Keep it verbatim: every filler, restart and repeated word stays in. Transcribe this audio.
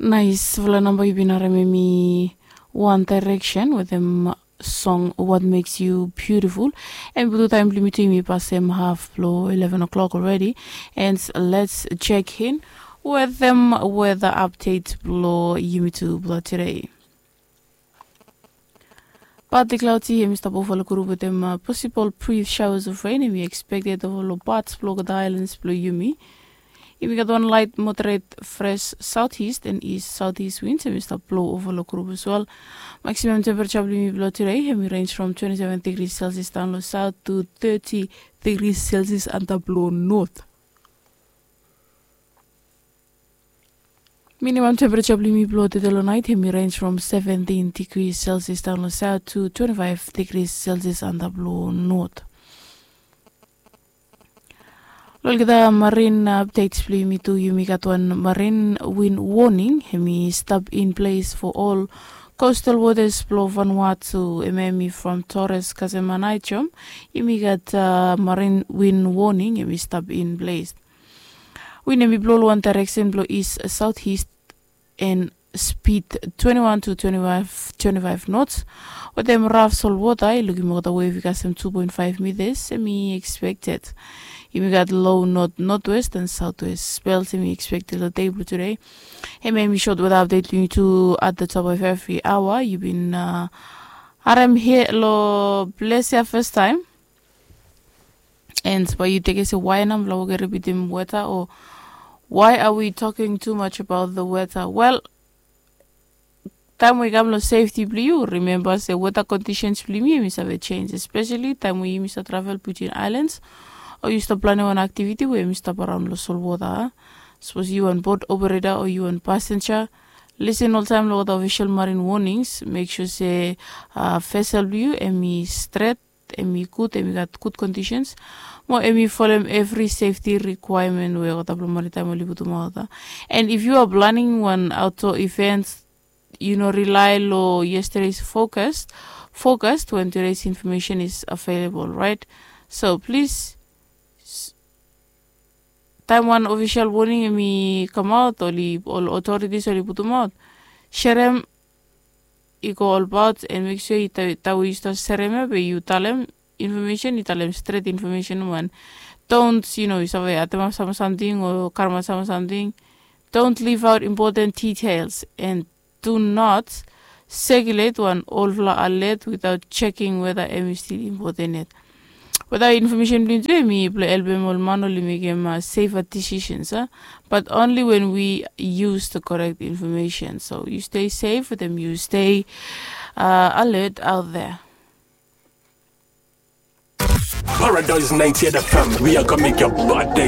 Naisfala namba yu bin harim em i One Direction wetem song What Makes You Beautiful. Em i putum taem blong yumi tu yumi pasem haf blong eleven o'clock already. And let's check in wetem weather update blong yumi tu blong today. Partly cloudy, em i stap ova long grup wetem possible brief showers of rain em i expected ova long parts blong olgeta islands blong yumi. Yumi gat wan light moderate fresh southeast and east southeast winds em i stap blo ova long grup as well. Maximum temperature blong yumi blong today em i range from twenty-seven degrees Celsius down long south to thirty degrees Celsius under blong north. Minimum temperature blong yumi blong today long night em i range from seventeen degrees Celsius down long south to twenty-five degrees Celsius under blong north. Long olgeta marine updates blong yumi tu, yumi gat wan marine wind warning em i stap in place for all coastal waters blong Vanuatu, em em i from Torres kasem Aneityum. Yumi gat marine wind warning em i stap in place. Win em i blo long wan direction blong east southeast and speed twenty-one to twenty-five knots wetem raf solwota. I lukim olgeta wave i kasem two point five meters em i expected. Yumi gat low north northwest and southwest spells em i expected long dei blong today. Em em i short weather update blong yumi tu at the top of every hour. Yu bin harem hia long ples ya first time. And bae yu tekem se why nao mifala wok repeatim weather o why are we talking too much about the weather? Well, taem we i kam long safety blong yu, remember se weather conditions blong yumi em i save change, especially taem we yumi stap travel between islands o yu stap planim wan activity we em i stap araon long solwota. Sapos yu wan boat operator o yu wan passenger, listen oltaem long olgeta official marine warnings. Make sure se vessel blong yu em i stret, em i gud, em i gat gud conditions, mo em i folem every safety requirement we olgeta blong maritime oli putumaot. And if you are planning wan outdoor event, yu no rely long yesterday's forecast forecast when today's information is available, right? So please, taem wan official warning em i kamaot, oli ol authorities oli putumaot, serem i go olbaot and make sure taem we yu stap serem ya be yu talem information, yu talem stret information. Wan, don't, yu no, yu save atemap sam samting o karemaot sam samting. Don't leave out important details and do not circulate wan olfala alert without checking whether em i still important yet. Without information blong yu tu em i blong helpem ol man oli mekem safer decisions, but only when we use the correct information. So you stay safe with them, you stay alert out there. Paradise ninety-eight F M, we are gonna make your body